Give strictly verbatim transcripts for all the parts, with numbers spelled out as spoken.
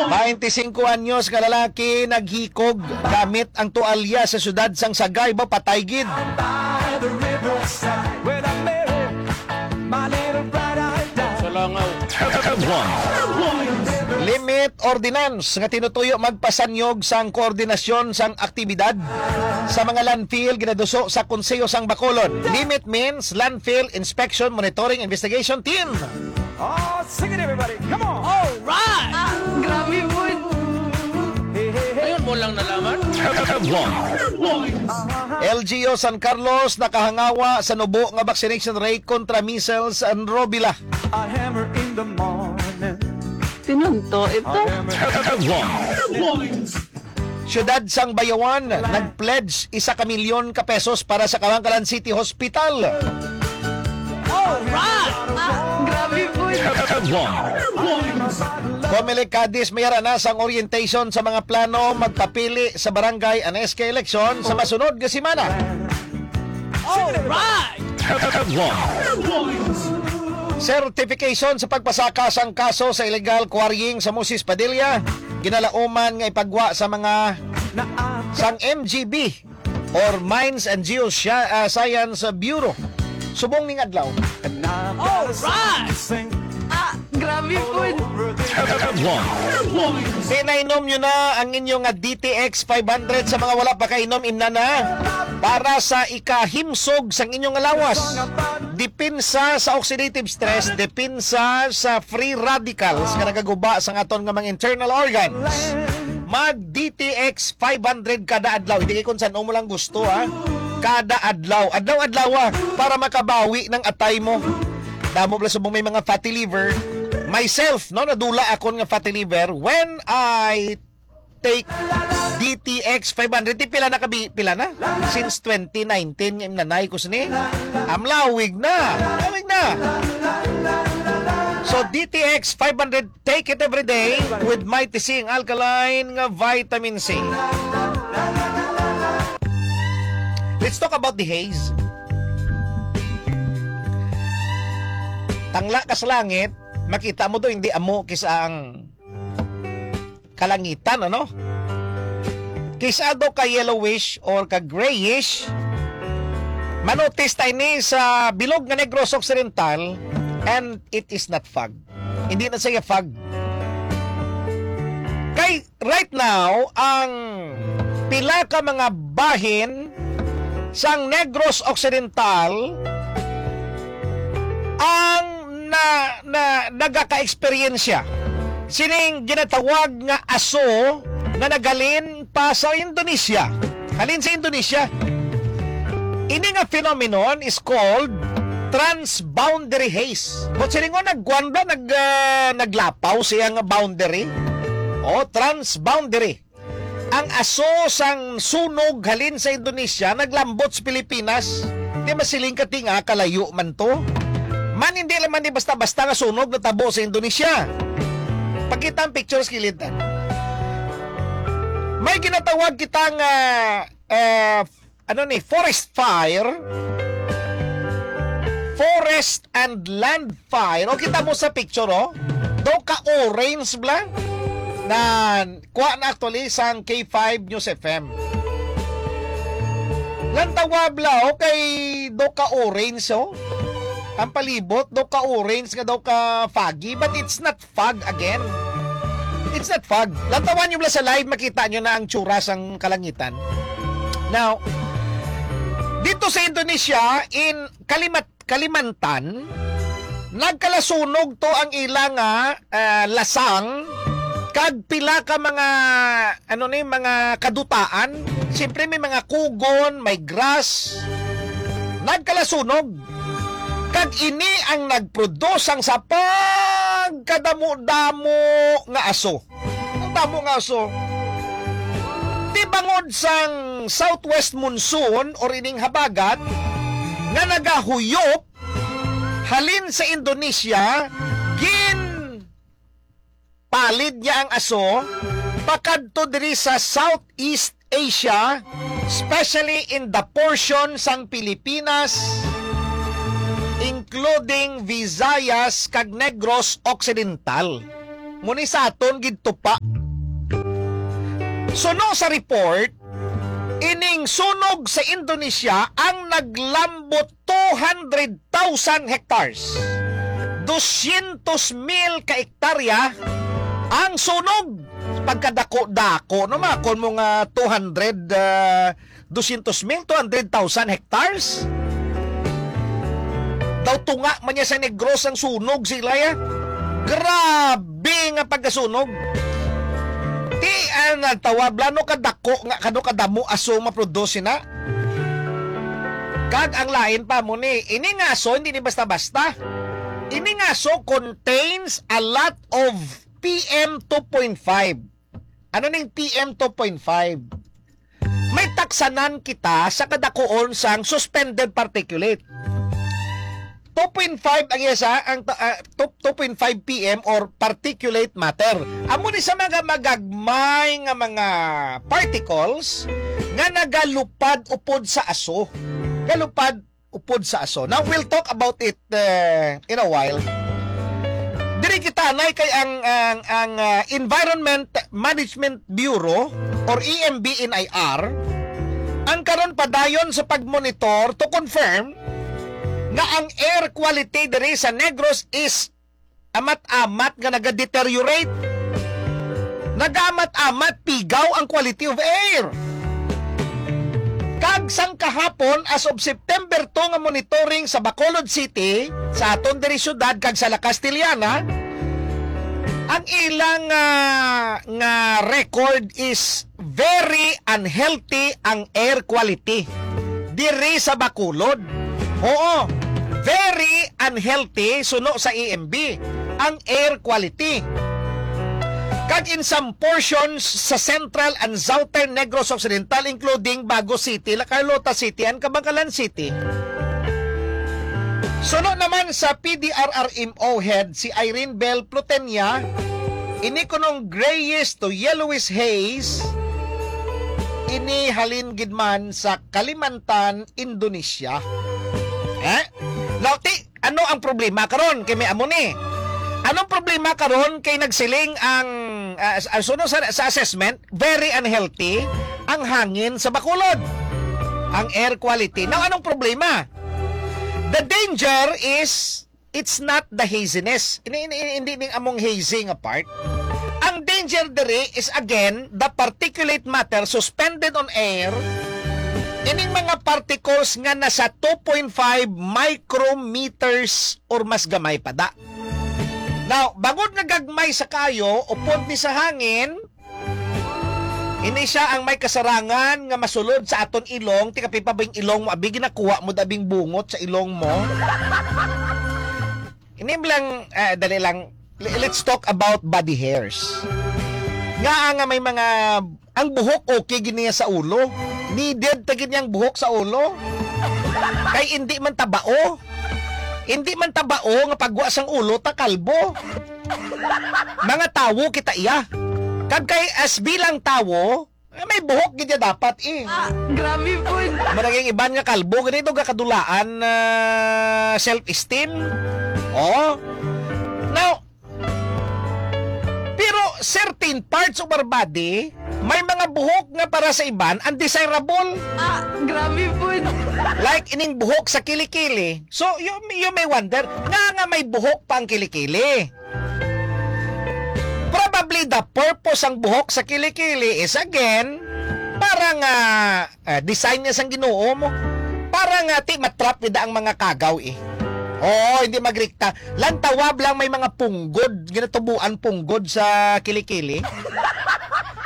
Baynte singko anyos nga lalaki naghikog gamit ang tualya sa siyudad sang Sagay, ba, patay gid. Sa langaw. Limit ordinance nga tinutuyo magpasanyog sang koordinasyon sang aktibidad sa mga landfill ginaduso sa Konseho sang Bacolod. Limit means Landfill Inspection Monitoring Investigation Team. Oh, sing it, everybody. Come on. Alright! Ah, grabe po. Ayun mo lang nalaman. L G U San Carlos nakahangawa sa nubo nga vaccination rate kontra measles and rubella. A hammer in the morning. Tinunto ito. Siyudad sang Bayawan, nag-pledge isa ka milyon ka pesos para sa Kawankalan City Hospital. Alright! Ah, grabe po. Comelec Cadiz, may ara na sang orientation sa mga plano magpapili sa barangay and S K election sa masunod nga semana. Alright! Certification sa pagpasaka sang kaso sa illegal quarrying sa Moses Padilla, ginalauman nga ipagwa sa mga sang M G B or Mines and Geoscience Bureau. Subong ning adlaw. Alright! Ah, grabe po. Pinainom nyo na ang inyo nga D T X five hundred. Sa mga wala pa kainom, imna na para sa ikahimsog sang inyong lawas. Depensa sa oxidative stress, depensa sa free radicals nga nagaguba sa aton nga mga internal organs. Mag D T X five hundred kada adlaw. Hindi kay kung saan mo lang gusto, ha. Kada adlaw. Adlaw-adlaw, ah, para makabawi ng atay mo. Damo pala subong may mga fatty liver. Myself, no, nadula akon nga fatty liver when I take D T X five hundred. Di pila na kabi, pila na? Since twenty nineteen nga imnanay ko sini. Amlawig na. Lawig na. So D T X five hundred, take it every day with Mighty C, ang alkaline nga vitamin C. Let's talk about the haze. Tangla ka sa langit, makita mo to, hindi amo kis-a ang kalangitan, ano? Kis-a daw ka yellowish or ka grayish. Manotis ta ini sa bilog nga Negros Occidental, and it is not fog. Hindi na siya fog. Kay right now, ang pila ka mga bahin sang Negros Occidental ang na, na nagaka-eksperyensya sining ginatawag nga aso nga naghalin pa sa Indonesia. Halin sa Indonesia. Ini nga phenomenon is called transboundary haze. But silingon nagkuan ba, nag, ah, naglapaw siya nga boundary? O, transboundary. Ang aso sang sunog halin sa Indonesia naglambot sa Pilipinas. Di masiling ka tinga kalayo man to. Man, hindi naman di basta-basta nga sunog natabo sa Indonesia. Pakita ang picture sa kilid, ah. May ginatawag kita nga, ah, ano ni, forest fire, forest and land fire. O, kita mo sa picture, oh. Daw ka orange bla na kuha na actually sang K five News F M. Lantawa bla, oh, kay daw ka orange, oh. Ang palibot, daw ka orange nga daw ka foggy, but it's not fog again. It's not fog. Lantawan nyo bla sa live, makita nyo na ang tsura sang kalangitan. Now, dito sa Indonesia, in Kalimat-, Kalimantan, nagkalasunog to ang ila nga, ah, lasang kag pila ka mga, ano ni, mga kadutaan. Siyempre, may mga kugon, may grass. Nagkalasunog. Kag ini ang nagproduce sang sa pagkadamo-damo nga aso. Ang damo nga aso. Di bangod sang southwest monsoon or ining habagat nga nagahuyop halin sa Indonesia, gin palid niya ang aso pakadto diri sa Southeast Asia, especially in the portion sang Pilipinas, including Visayas kag Negros Occidental. Muni sa aton gid tupa. Suno sa report, ining sunog sa Indonesia ang naglambot two hundred thousand hectares. Dosyentos mil ka hektarya ang sunog. Pagkadako-dako, no, mga kon mo nga two hundred, ah, dosyentos mil, two hundred thousand hectares. Daw tunga man niya sa Negros ang sunog sila, ya. Grabe nga pagkasunog. Ti, ah, nagtawag, lano kadako nga, kano kadamo aso maproduce na. Kag ang lain pa mo ni, ini nga aso, hindi ni basta-basta. Ini nga aso contains a lot of P M two point five. Ano ning P M two point five? May taksanan kita sa kadakuon sang suspended particulate. Two point five ang isa, ang ta-, ah, two, two point five P M or particulate matter. Amo ni sa mga magagmay nga mga particles nga nagalupad upod sa aso. Galupad upod sa aso. Now, we'll talk about it, eh, in a while. Diri kita, nay, kay ang, ang, ang, ah, Environment Management Bureau or E M B N I R, ang karon padayon sa pagmonitor to confirm nga ang air quality diri sa Negros is amat-amat nga nagadeteriorate. Nagaamat-amat pigaw ang quality of air. Kag sang kahapon, as of September two nga monitoring sa Bacolod City, sa aton diri syudad kag sa La Castellana, ang ilang, ah, nga record is very unhealthy ang air quality diri sa Bacolod. Oo, very unhealthy suno sa E M B ang air quality. Kag in some portions sa Central and Southern Negros Occidental, including Bago City, La Carlota City, and Kabankalan City. Suno naman sa P D R R M O head, si Irene Bell Plutenia, ini kunong grayish to yellowish haze, ini halin gid man sa Kalimantan, Indonesia. Eh? Now, ti, ano ang problema karon? Kay may amo ni. Anong problema karon kay nagsiling ang, ah, s-, ah, suno sa, sa assessment, very unhealthy ang hangin sa Bacolod. Ang air quality. Now, anong problema? The danger is, it's not the haziness. Ini, ini, ini, hindi ning among hazy nga part. Ang danger diri is, again, the particulate matter suspended on air. Ining mga particles nga nasa two point five micrometers or mas gamay pa da. Now, bangod nga gagmay sa kayo, upod ni sa hangin, ini sia ang may kasarangan nga masulod sa aton ilong. Ti kapi pa bing ilong mo, abi, ginakuha mo da bing bungot sa ilong mo. Ini lang, ah, dali lang. L-, let's talk about body hairs. Nga nga may mga, ang buhok okay gid niya sa ulo. Needed ta gid niyang buhok sa ulo. Kay hindi man tabao. Hindi man tabao nga pagwa sang ulo ta kalbo. Mga tawo kita iya. Kag kay as bilang tawo, eh, may buhok gid ya dapat eh. Ah, grabe po. Maraging iban nga kalbo, ganito gakadulaan na self-esteem. Oh. Now, pero certain parts of our body, may mga buhok nga para sa iban, undesirable. Ah, grabe po. Like ining buhok sa kilikili. So, you, you may wonder, nga nga may buhok pa ang kilikili. Probably the purpose ang buhok sa kilikili is again, para nga, ah, design niya sang Ginoo mo. Para nga ti matrap nida ang mga kagaw eh. Oo, hindi magrikta. Lang tawab lang may mga punggod, ginatubuan punggod sa kilikili.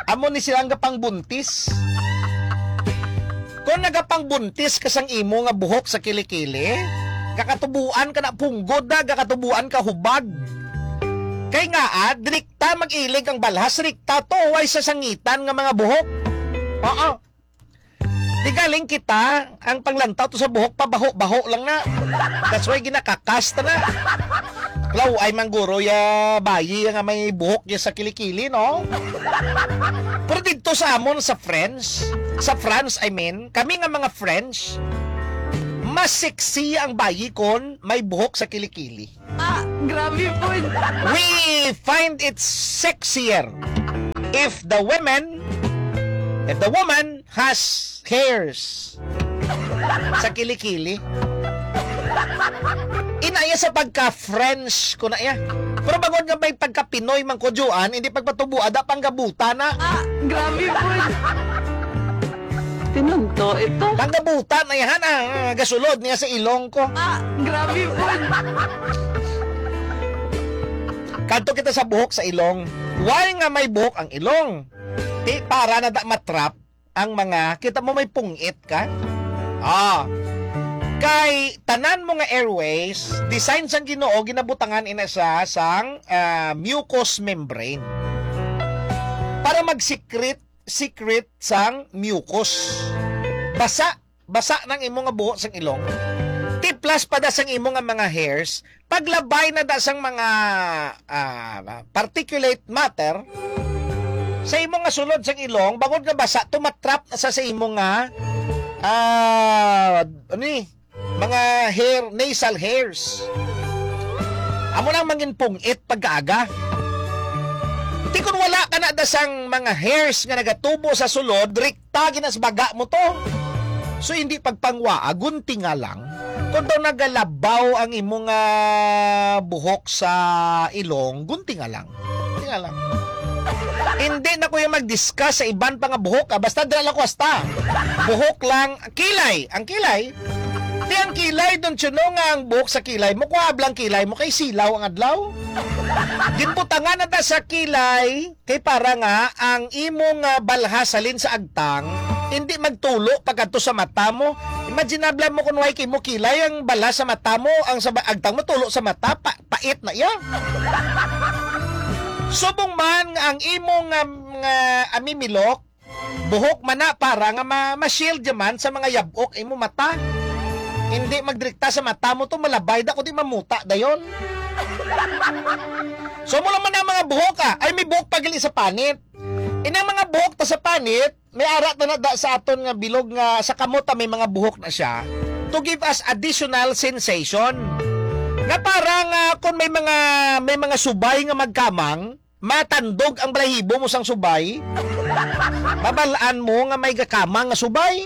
Amo ni silang gapangbuntis. Kung nagapangbuntis ka sang imo nga buhok sa kilikili, gakatubuan ka na punggod na, gakatubuan ka hubag. Kay nga, ah, direkta mag-ilig ang balhas, direkta to, way sa sangitan nga mga buhok. Oo. Di galing kita, ang panglantaw to sa buhok, pabaho-baho lang na. That's why ginakakasta na. Law ay mangguro ya bayi nga may buhok niya sa kilikili, no? Pero dito sa amon, sa French, sa France, I mean, kami nga mga French, mas sexy ang bayi kon may buhok sa kilikili. Ah, Grabe po. We find it sexier if the women, if the woman has hairs sa kilikili. Inaya sa pagka-French ko na iya. Pero bangod nga may pagka-Pinoy man ko, Joan, hindi pagpatubo, ada panggabuta na. Ah, grabe po. Tinunto ito. Panggabuta na yan, ah, gasulod niya sa ilong ko. Ah, grabe po. Kadto kita sa buhok sa ilong. Why nga may buhok ang ilong? Ti, para na da matrap ang mga, kita mo may pungit ka? Ah. Kay tanan mo nga airways, design sang Ginoo, ginabutangan ina siya sang, ah, mucous membrane. Para mag-secrete, secrete sang mucous. Basa, basa nang imo nga buho sang ilong. Tiplas pa da sang imo nga mga hairs, paglabay na da sang mga, ah, particulate matter sa imo nga sulod sang ilong, bangod nga basa, tumatrap na sa, sa imo nga, ah, ano ni, mga hair, nasal hairs. Amo nang mangin pungit pagkaaga. Ti kun wala ka na da sang mga hairs nga nagatubo sa sulod, rikta ginas baga mo to. So, hindi pagpangwaa, guntinga lang. Kung daw nagalabaw ang imo nga buhok sa ilong, guntinga lang. Guntinga lang. Hindi na ko yung mag-discuss sa iban pa nga buhok, ah. Basta dira lang ko hasta. Buhok lang, kilay. Ang kilay, di ang kilay, don't you know nga ang buhok sa kilay mo, kuha blang kilay mo, kay silaw ang adlaw. Ginbutangan na ta sa kilay, kay para nga ang imong, ah, balha salin sa agtang, hindi magtulo pagkadto sa mata mo. Imaginable mo kung way kay mo kilay ang balha sa mata mo, ang sa ba-, agtang mo tulo sa mata, pa, pait na iya. Subong man nga ang imong, ah, nga amimilok, buhok man na para nga ma, ma-shield man sa mga yabok imo mata. Hindi magdirekta sa mata mo to, malabay da, kundi mamuta dayon. So, mo lang man ang mga buhok, ah. Ay, may buhok pa gali sa panit. Inang mga buhok ta sa panit, may ara ta na da sa aton nga bilog nga sa kamot, ah, may mga buhok na siya to give us additional sensation. Nga parang, ah, kung may mga, may mga subay nga magkamang, matandog ang balahibo mo sang subay, mabalaan mo nga may gakamang nga subay.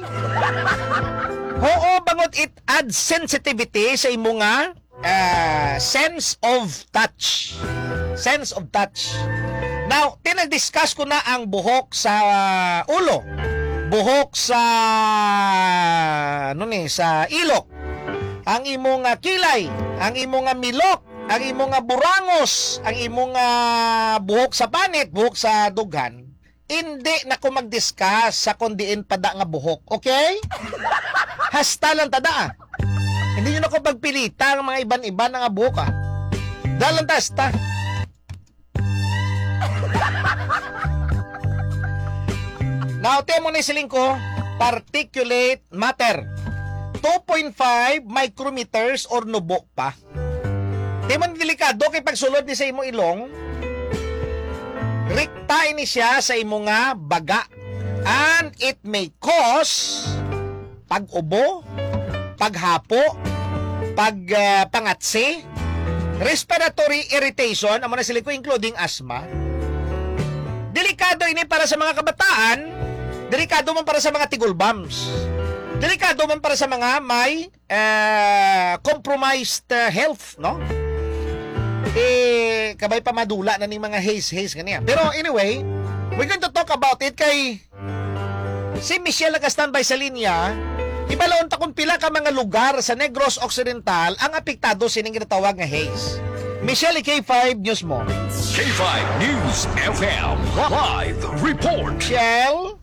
Oo, bangod it adds sensitivity sa imo nga, ah, sense of touch. Sense of touch. Now, tinag-discuss ko na ang buhok sa ulo, buhok sa, ano ni, sa ilok, ang imo nga kilay, ang imo nga milok, ang imo nga burangos, ang imo nga buhok sa panit, buhok sa dughan, hindi na ko mag-discuss sa kon diin pa da nga buhok. Okay? Hasta lang ta da, ah. Hindi nyo na ko pagpilita ang mga iban-iban nga buhok, ah. Da lang ta, hasta. Now, tiyan mo na yung siling ko, particulate matter. Two point five micrometers or nubo pa. Di man delikado kay pagsulod ni sa imo ilong, rikta ini siya sa imo nga baga. And it may cause pag-ubo, paghapo, pag, ah, pangatsi, respiratory irritation, amo na sila ko, including asthma. Delikado ini para sa mga kabataan, delikado man para sa mga tigulbams. Delikado man para sa mga may, ah, compromised, ah, health, no? Eh, kabay pa madula na ning mga haze, haze ganiya. Pero anyway, we're going to talk about it kay si Michelle naka-standby sa linya. Ibalaon ta kung pila ka mga lugar sa Negros Occidental ang apektado sining ginatawag nga haze. Michelle, K five News mo. K five News F M live report. Michelle?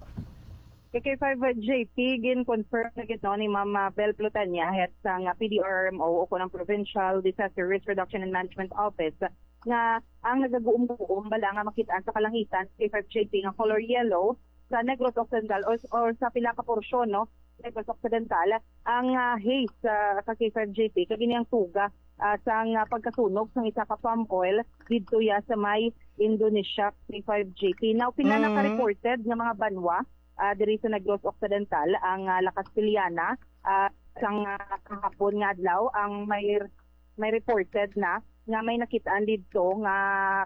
K K five J P, gin-confirm na gid, no, ni Ma'am, ah, Bel Plutania, head sang, ah, P D R M O o kon ang Provincial Disaster Risk Reduction and Management Office, nga ang nagaguom-guom bala nga makit-an sa kalangitan, K five J P, nga color yellow sa Negros Occidental or, or sa pila ka porsyon, no, Negros Occidental, ang, ah, haze, ah, sa K five J P, kag ini ang tuga, ah, sang, ah, pagkasunog sang isa ka palm oil didto ya sa may Indonesia, K five J P. Now, pila na Mm. ka-reported nga mga banwa, ah, diri sa Negros Occidental, ang, ah, La Castellana, ah, sang, ah, kahapon nga adlaw, ang may, may reported na nga may nakitaan didto nga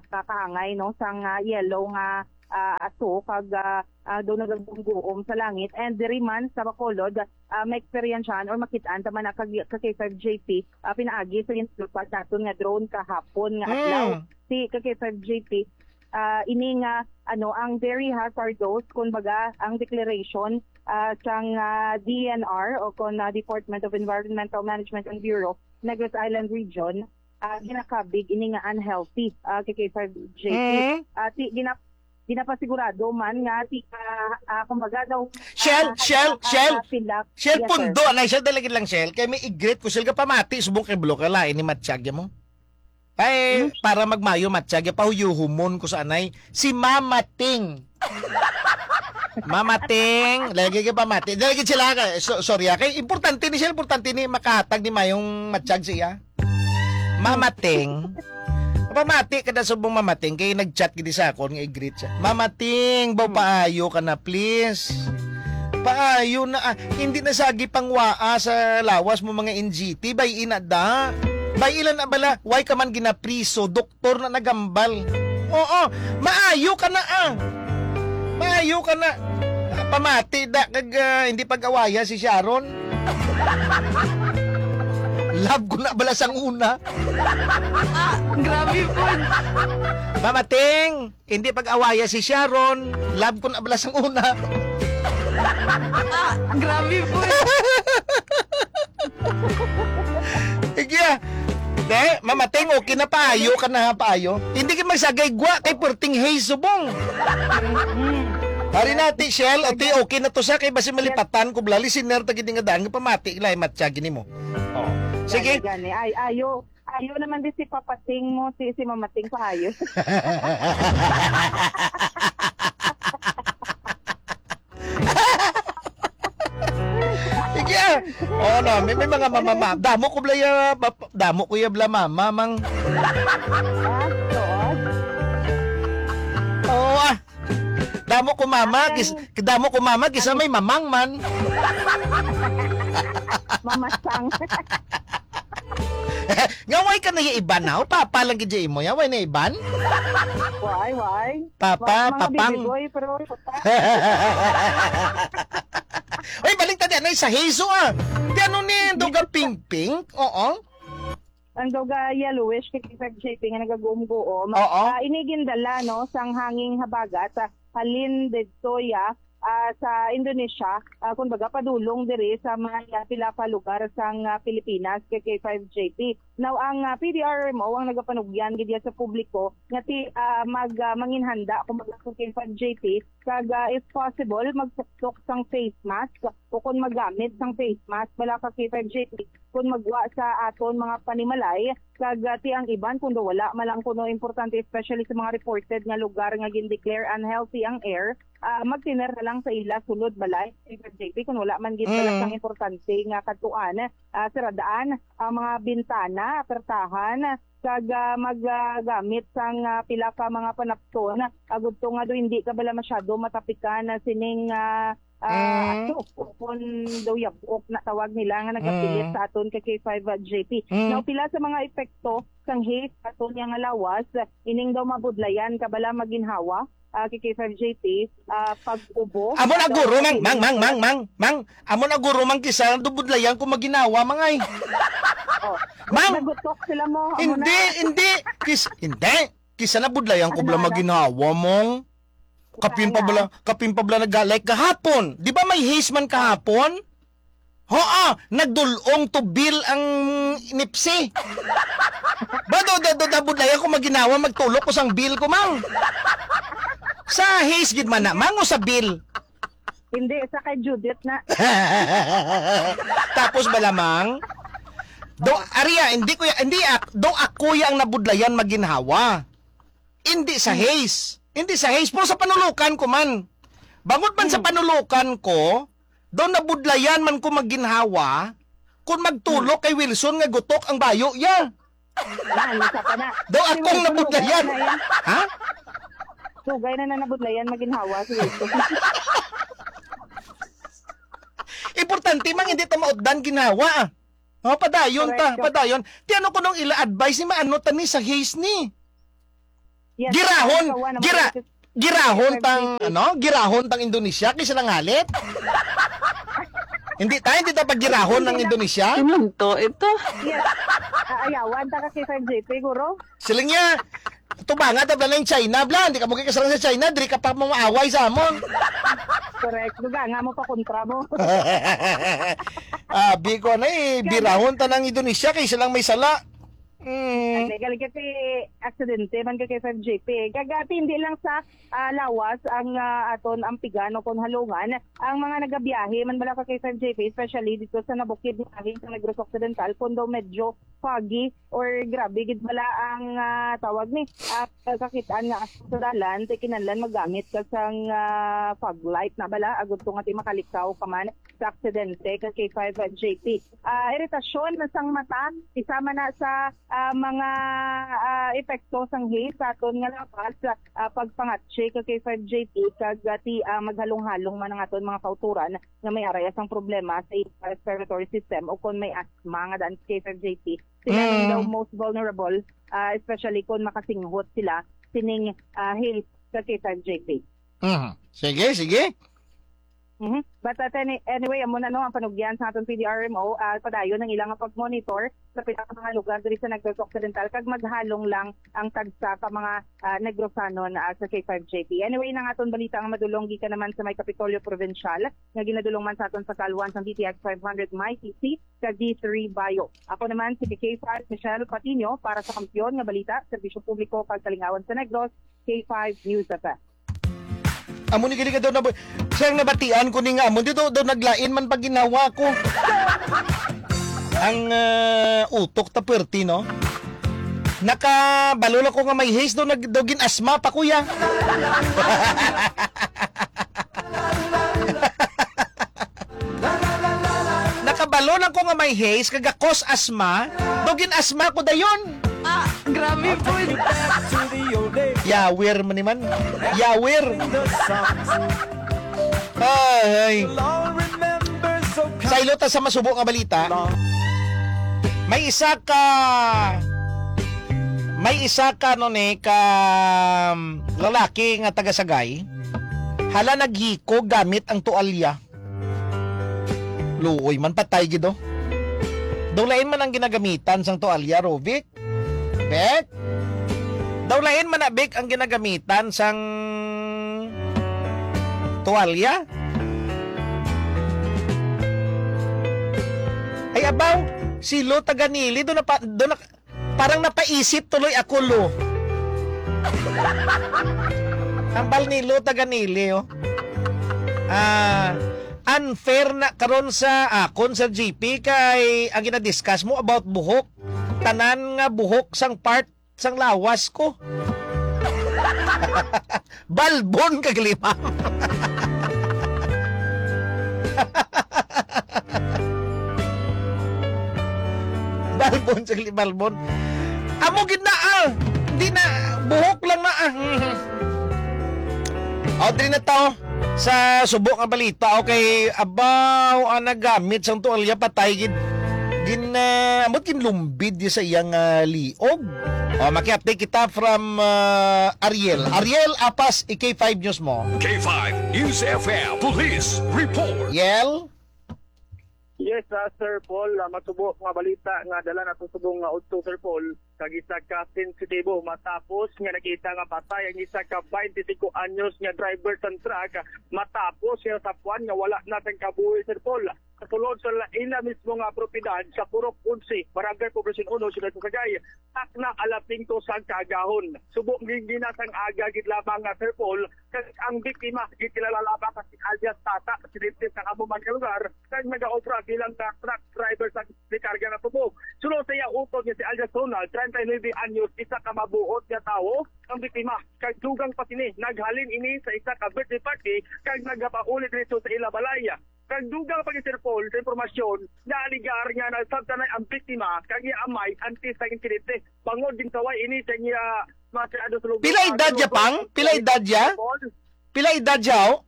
kakaangay, no, sang, ah, yellow nga, ah, aso kag, ah, ah, daw nagagumguom sa langit. And diri man sa Bacolod, ah, maeksperiensyahan or makitaan ta man na kag, ka K five J P, ah, pinaagi sa ginatulpad naton nga drone kahapon nga adlaw. Mm. Si ka K five J P, ah, ini nga, ano, ang very hazardous, kumbaga, ang declaration, ah, sang, ah, D E N R o kon, ah, Department of Environmental Management and Bureau, Negros Island Region, ah, ginakabig ini nga unhealthy, ah, K K five J P. Mm. Ah, ti-, gina-, ginapasigurado man nga ti-, ah, ah, kumbaga daw, Shell, ah, Shell, ah, Shell. ah, pilak. Shell, Yes, sir. pundo na, Shell, dali lang, Shell. Kay may i-greet ko, Shell, ka pamati, subong kay Blo, ka lain ni Matsyag mo. Ay, Hmm? para magmayo, Matsyag, pahuyuhumon ko sa anay, si Mama Ting. Mama Ting, lagi ka pamati. Lagi sila ka, so, sorry, ah, kay importante ni siya, importante ni makahatag ni mayong Matsyag siya. Mama Ting. Pamati ka na subong Mama Ting, kay nag-chat gid sa akon nga i-greet siya. Mama Ting, baw Hmm. paayo ka na, please. Paayo na, ah, hindi na sagi pangwaa sa lawas mo mga N G T, bay ina da. Bay ilan na bala, why ka man ginapriso, doktor na nagambal. Oo, maayo ka na, ah. Maayo ka na. Ah, pamati da kag, ah, hindi pag-awaya si Sharon. Love ko na bala sang una. Ah, grabe po. Mama Ting, hindi pag-awaya si Sharon. Love ko na bala sang una. Ah, grabe po. Sige, ah. De, Mama Ting, okay na, paayo ka na, ha, paayo. Hindi ka magsagay gwa kay perting hay subong. Ari na, Ate Shell, ate, okay na to sa kay basi malipatan ko, bla, listener ta gid nga daan nga pamati, ilay Matsyag gini mo. Oh. Sige. Gani, gani. Ay, ayo, ayo naman di si Papa Ting mo, si, si Mama Ting pa ayo. Sige, ah. Oh, no, may, may mga mama, ma-, damo ko bla ya, ma-, damo ko ya bla mama, mang. Ah, tuod? Oo, ah. Damo ko mama, kis-, damo ko mama, kisa may mamang man. Mamasang. Nga, why ka na ya iban na? O, papa lang gid ya imo ya, why na iban? Why, why? Papa, Why, mga papang. baby boy, pero Uy, balik ta di, ano, sa Hezo, ah. Di, ano ni, daw ga pink-pink? Oo. Ang daw ga yellowish kay K five J P nga nagaguom-guom. Oo. Ah, ini gindala, no, sang hanging habagat, ah, halin didto ya, ah, sa Indonesia, ah, kumbaga padulong diri sa mga pila ka lugar sang, ah, Pilipinas kay K five J P. Now, ang, ah, P D R M O ang nagapanugyan gid ya sa publiko nga ti-, ah, mag, ah, manginhanda, kumbaga, sa K five J P, kag, ah, if possible, magtuktok sang face mask o kon maggamit sang face mask bala ka K five J P kon magwa sa aton mga panimalay, kag, ah, ti ang iban, kun daw wala man lang kuno importante, especially sa mga reported nga lugar nga gin-declare unhealthy ang air, ah, magtener na lang sa ila sulod balay, K five J P, kun wala man gid bala Mm. sang importante nga kadtuan, ah, siradaan ang mga bintana, pertahan, kag, ah, mag, ah, gamit sang, ah, pila ka mga panapton, agud to nga do hindi ka bala masyado matapikan na sining, ah, ah, Mm. aso, o kon daw yabok na tawag nila nga nagapilit Mm. sa aton ka K five J P. Mm. Now, pila sa mga epekto sang haze sa aton nga lawas, ining daw mabudlayan ka bala maginhawa, ah, kay K five J P, ah, pag-ubo. Amo na, guro, mang, mang, mang, mang, mang, mang. Amo na, guro, mang, kisa nabudlayan ko maginhawa, mang, ay. Oh, Mang! Nagutok sila mo, amo na. Hindi, hindi. Kis-, hindi. Kisa nabudlayan ko Ano bala na? maginhawa, mang. Kapin pa Kaya? bala, kapin pa bala nag-, like, kahapon. Di ba may haze man kahapon? Ho, ah, nagdulong to bill ang nipsi. Ba, do, do, do, nabudlay ako maginhawa, magtulok ko sang bill ko, mang. Sa haze gid man na, mang, o sa bill? Hindi, sa kay Judith na. Tapos ba lamang? Do, aria, hindi ko ya, hindi ak-, do ako ya ang nabudlayan maginhawa. Hindi sa Hmm. haze. Hindi sa haze, pero sa panulukan ko man. Bangod man sa Hmm. panulukan ko, daw nabudlayan man ko maginhawa, kung magtulok Hmm. kay Wilson nga gutok ang bayo, ya. Yan, isa pa na. Daw Kasi akong Wilson, nabudlayan. sugay na yan. Ha? Sugay na na nabudlayan, maginhawa si Wilson. Importante, mang, hindi ta mautdan ginhawa, ah. Oh, padayon ta, Correct. Padayon. Ti ano ko nung ila advice ni maano ta ni sa haze ni? Yes, Girahon, so one of gira-, the girahon tang, ano? Girahon tang Indonesia kaysa lang halit. Hindi ta, hindi ta paggirahon ng Indonesia. Pinunto ito. Yes. Aayawan ta ka kay five J P, guro. Sila niya, tubanga ta bla ng China, bla. Hindi ka mo kikasarang sa China, diri ka pa mo maaway sa amon. Correct. Duga nga mo pa kontra mo. Abi ko na eh, birahon ta ng Indonesia kay silang may sala. Mm. Ay, galing kasi aksidente man ka kay five J P. Kagati, hindi lang sa ah, lawas ang ah, aton ampigan o kung halungan. Ang mga nagabiyahe man bala ka kay five J P, especially dito sa nabukid nga halin sa Negros Occidental, kung daw medyo foggy or grabe gid bala ang ah, tawag ni ah, kakitaan nga sa dalan, ti kinahanglan magamit ka sang ah, fog light na bala agud to nga ti makalikaw ka man sa aksidente ka kay five J P. Ah, iritasyon na sang mata, isa man na sa ah, mga ah, epekto sang haze sa aton nga lawas, ah, pagpangatsi ka kay five J P kag ah, ti ah, maghalong-halong man ang aton mga kautoran nga may araya sang problema sa ila respiratory system o kon may asthma nga daan kay five J P. Sila man Mm. daw most vulnerable, ah, especially kon makasinghot sila sining ah, haze ka kay five J P. Mhm. Sige, sige. Mhm. But at any, anyway, amo na no ang panugyan sa aton P D R M O, ah, padayon ang ilang pag-monitor sa pila ka mga lugar diri sa Negros Occidental kag maghalong lang ang tagsa ka mga ah, Negrosanon ah, sa K five J P. Anyway, nang aton balita nga madulong gikan naman sa may Kapitolyo Provincial nga ginadulong man sa aton sa Kalwan sang D T X five hundred My T C kag D three Bayo. Ako naman si K five Michelle Patiño para sa Kampiyon nga Balita, Serbisyo Publiko kag Kalingawan sa Negros, K five News F M. Amo ni gali ka daw na, siyang nabatian ko ni nga amo dito daw naglain man pag ginawa ko. Ang ah, utok ta perti, no? Nakabalo lang ko nga may haze daw nag daw gin-asma pa, kuya. Nakabalo lang ko nga may haze kag cause asma, daw gin-asma ko dayon. Ah, grabe po. Yawir man ni man. Yawir. Ay, ay. Saylo ta sa masubo nga balita. May isa ka may isa ka no ni ka um, lalaki nga taga Sagay. Hala naghikog gamit ang tualya. Luoy man, patay gid, oh. Daw lain man ang ginagamitan sang tualya, Rovic. Bek? Daw lain man na, Bek, ang ginagamitan sang tuwalya? Ay, abaw, si Lo Taganili, doon na, pa- doon na, parang napaisip tuloy ako, Lo. Ang bal ni Lo Taganili, oh. Ah, unfair na karon sa akon, Sir G P, kay ang ginadiscuss mo about buhok, tanan nga buhok sang part sang lawas ko. Balbon kag limang. Balbon sa li-, balbon. Amo gid na, ah. Di na, buhok lang na, ah. O, diri na to sa subo nga balita. Okay, abaw, ang nagamit sang tuwalya, patay gid. Gin, ah, ambot ginlumbid di sa iyang ah, liog. O, maki-update kita from ah, Ariel. Ariel Apas, i K five News mo. K five News F M Police Report. Ariel? Yes, ah, Sir Paul, ah, masubo nga balita nga dala nato subong nga udto, Sir Paul, kag isa ka sensitibo matapos nga nakita nga patay ang isa ka twenty-five anyos nga driver sang truck matapos nga nasapuan nga wala na sang kabuhi, Sir Paul. Sa sulod sa ila mismo nga propiedad sa Purok Onse, Barangay Poblacion Uno, Siyudad sa Sagay, takna alas singko sang kaagahon. Subong gin-, ginasang aga gid lamang nga, Sir Paul, kag ang biktima gikilala lamang nga si alias Tata, residente sa amo man nga lugar, kag nagaobra bilang nga truck driver sa rekarga nga tubog. Sulod sa iya utod nga si alias Ronald, treinta y nueve anyos, isa ka mabuot nga tawo ang biktima, kag dugang pa sini, naghalin ini sa isa ka birthday party kag nagapauli diretso sa ila balay. Kag dugang pa gid, Sir Paul, sa impormasyon, naaligar nga nasabtanay ang biktima kag iya amay antes sa insidente. Bangod ginsaway ini sa iya mga sa lugar. Pila edad niya, pang? Pila edad niya? Sir Paul. Pila edad niya, oh?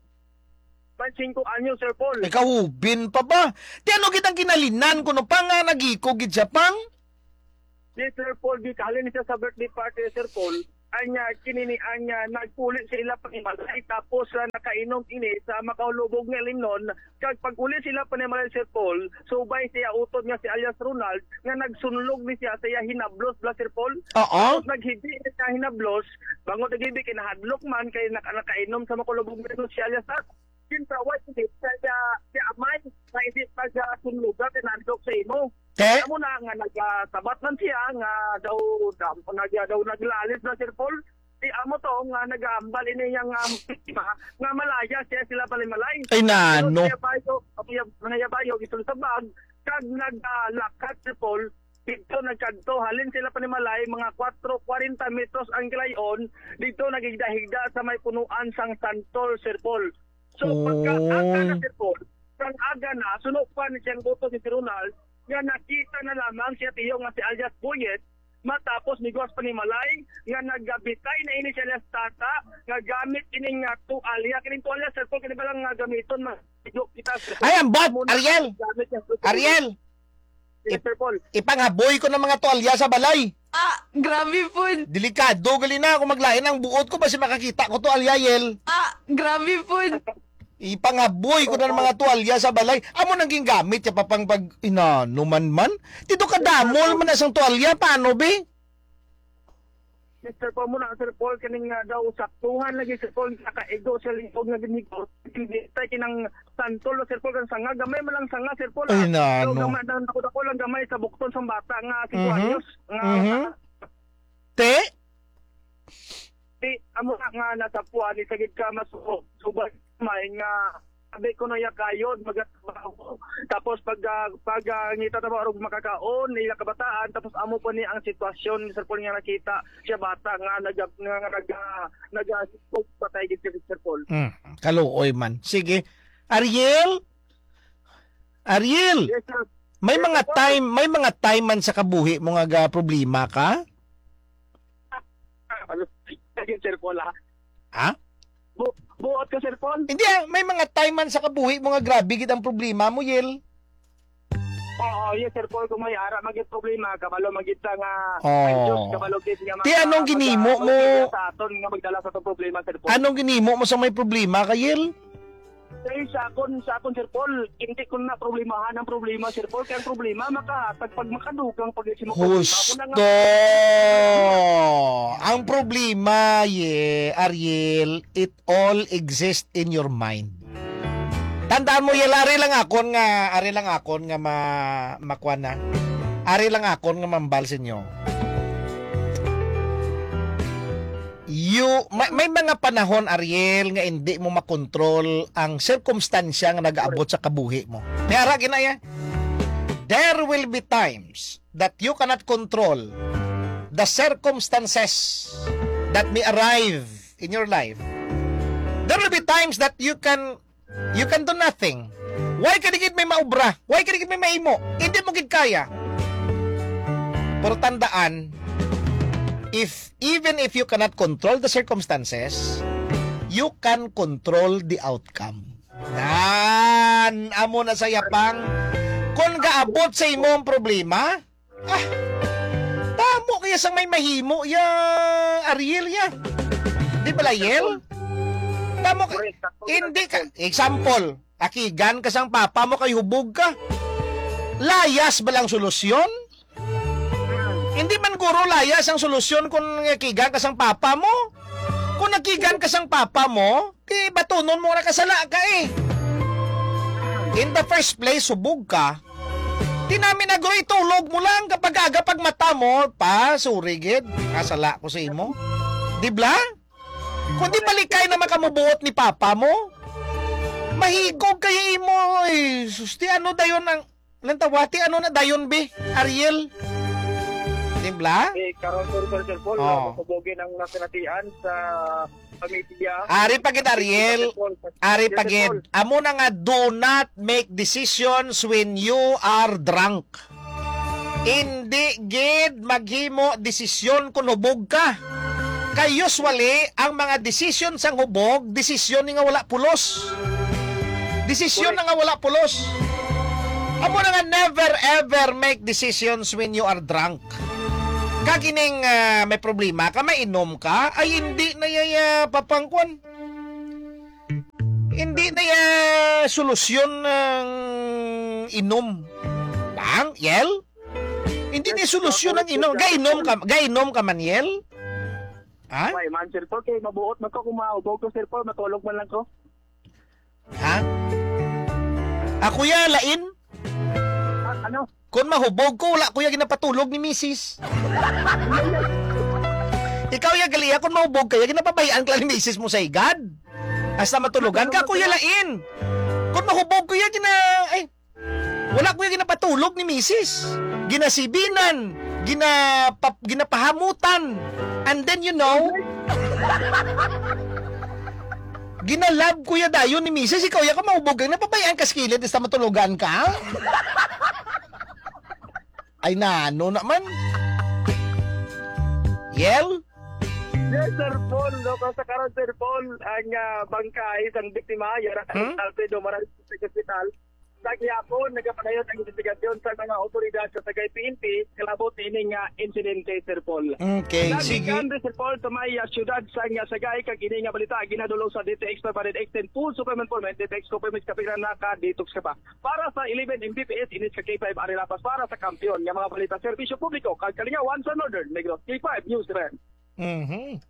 May singko anyos, Sir Paul. Ikaw, hubin pa ba? Ti ano gid ang kinahanglan kuno pa nga nagiko gid siya, pang? Yes, Sir Paul, di kahalin siya sa birthday party, Sir Paul. Anya, kinini, anya, nagpuli sa ila panimalay, tapos, ah, nakainom ini sa makahulubog nga limnon. Kag pag-uli sila panimalay, Sir Paul, subay siya utod nga si alias Ronald, nga nagsunlog ni siya sa iya hinablos, bla, Sir Paul. Oo. Tapos naghibi siya hinablos, bangod naghibi, kinahadlok man, kay naka-, nakainom sa makahulubog nga limnon si alias Tat. Kinpraway, hindi siya, siya, siya amay, nga hindi pag, ah, sunlugan, kinahadlok sa imo. Te? Amo na nga nagasabat man siya nga daw, daw, nag-, daw naglalis na, Sir Paul. Di amo to nga nagahambal ini yang, um, biktima nga malaya siya sila panimalay. Ay, nano? Pero siya bayo, siya, siya bayo, gisulod sa bag, kag naglakat, Sir Paul, dito nagkadto, halin sila panimalay, mga kwatro, kwarenta metros ang kilayon, dito nagigda-higda sa may punuan sang santol, Sir Paul. So, pagka aga na, Oh. Sir Paul, pag aga na, suno pa ni siyang buto si Sir Ronald, nga nakita na lamang siya tiyo nga si alias Boyet, matapos ni Guas panimalay, nga nagabitay na ini siya alias Tata, nga gamit ini nga tuwalya. Kining tuwalya, Sir Paul, kini ba lang nga gamiton, ma-, kita, Sir Paul? Ay, ambot, Amo na Ariel! ang gamit niya, Sir Paul. Ariel! Yes, Sir Paul. Ipanghaboy ko ng mga tuwalya sa balay. Ah, grabe po. Delikado gali na ako maglain ang buot ko, basi makakita ko to, alyayel. Ah, grabe po. Ipanghaboy ko na ng mga tuwalya sa balay. Amo nang gingamit ya pa pang pag inanuman man. Dito ka damol man na sang tuwalya, paano, be? Mister Paul, muna, Sir Paul, kaning nga daw saktuhan lagi, Sir Paul, nakaigo sa lingkod nga ginhigot. Hindi tayo kinang santol, Sir Paul, kang sanga. Gamay man lang sanga, Sir Paul, Ay, ah. Pero nano. Gamay, nang dako-dako lang gamay sa bukton sang bata nga singko Mhm. anyos. Nga Mhm. Te? Di, amo na nga nasapuan, ni sagid ka mas subay may nga sabi ko na ya kayod, magatrabaho. Tapos pag, ah, pag, ah, ngita trabaho, makakaon, nila kabataan, tapos amo pa ni ang sitwasyon, Sir Paul, nga nakita siya bata nga nag-, nga, nga nag-, ah, nag-, ah, patay gid si Sir Paul. Mm, kaluoy man. Sige. Ariel? Ariel, Yes, sir. may Yes, mga sir. time, may mga time man sa kabuhi mo nga ga problema ka? Ano? Sige, Sir Paul, ha? Ha? Bu-, buot ka, Sir Paul? Hindi, ah, may mga time man sa kabuhi mo nga grabe gid ang problema mo, Yel. Oo, yes, Sir Paul, kung may ara magit problema, kabalo magit sa nga Oh. anxious, kabalo gid nga Ti, mga anong ginimo mag-, mo? Sa aton nga magdala sa atong problema, Sir Paul. Anong ginimo mo sa may problema ka, Yel? Kay sa akon, sa akon, Sir Paul, hindi ko na problemahan ang problema, Sir Paul. Kaya ang problema, makahatag pag makadugang pag si mo problema. Ako na nga. Husto! Ang problema, ye, Ariel, it all exists in your mind. Tandaan mo, Yel, ari lang akon nga, ari lang akon nga ma-, makuha na. Ari lang akon nga mambal sa inyo. You, may, may mga panahon, Ariel, nga hindi mo makontrol ang sirkumstansya nga nag-aabot sa kabuhi mo. May ara, ginaya. There will be times that you cannot control the circumstances that may arrive in your life. There will be times that you can You can do nothing. Why ka di gid may maubra? Why ka di gid may maimo? Hindi mo gid kaya. Pero tandaan, if, even if you cannot control the circumstances, you can control the outcome. Nan, amo na sa yapang. Kung gaabot sa imo ang problema, Ah, tamo kaya sang may mahimo ya, Ariel, ya. Di ba, Layel? Tamo ka, Correct, sakto, hindi ka, sakto. Example, akigan ka sang papa mo kay hubog ka. Layas ba lang solusyon? Hindi man guro layas ang solusyon kung akigan ka sang papa mo. Kung nakigan ka sang papa mo, di batunon mo na kasala ka eh. In the first place, hubog ka. Di namin agroy, tulog mo lang kapag aga pag mata mo, pa, sorry gid. Kasala ko sa imo. Di bla? Kung di balikay na makamubuot ni papa mo, mahigog kaya imo. Eh, sus, di ano dayon ang Lantawati, ano na dayon, be? Ariel? Timbla? Eh, karon, sir, sir, sir Paul, Oh. Masubugi ng nasinatian sa pamilya. Ari pa gid, Ariel. Sir Paul, sir. Ari Yes, pa sir gid. Paul. Amo na nga, do not make decisions when you are drunk. Hindi gid maghimo desisyon kung hubog ka. Kay usually, ang mga desisyon sang hubog, desisyon ni nga wala pulos. Desisyon na nga wala pulos. Amo na nga, never ever make decisions when you are drunk. Kag ining, ah, may problema ka, mainom ka, ay hindi na yaya papangkwan. Hindi na ya solusyon ng inom. Bang, Yel? Hindi na solusyon ng inom. Gainom ka, gainom ka man, Yel? Ha? Ay, man, Sir Paul, kay mabuot man ko kung maubog ko, Sir Paul, matulog man lang ko. Ha? Ako ya, lain? Ah, ano? Kung mahubog ko, wala ko ya ginapatulog ni misis. Ikaw ya, gali ya, kung mahubog ka ya, ginapabayaan ka lang ni misis mo sa higad. Hasta matulogan ka, ako ya, lain. Kung mahubog ko ya, gina-, ay, wala ko ya ginapatulog ni misis. Ginasibinan, ginapa-, ginapahamutan. And then, you know, ginalab ko ya dayon ni misis, ikaw ya ka mahubog ka, napabayaan ka sa kilid, hasta matulogan ka? Ay, nano naman? Yel? Yes, Sir Paul. No, sa karon, Sir Paul, ang, ah, bangkay sang biktima, yara Hmm? Alfredo Maral sa ospital. Sa gihapon, nagapadayon ang investigasyon sa mga otoridad sa Sagay P N P, kalabot ini nga insidente, Sir Paul. Okay, sige. Nagkandi, Sir Paul, sa may, ah, siyudad sa nga Sagay, kag ini nga balita, ginadul-ong sa D T X five hundred X ten Full Super Informant, D T X Copimex, kapigran na ka, detox ka pa. Para sa eleven M B P S, inis ka K five Arena Pass, para sa kampiyon nga mga balita, serbisyo publiko, kag kalingawan sa Northern Negros, K five News Event. Mhm.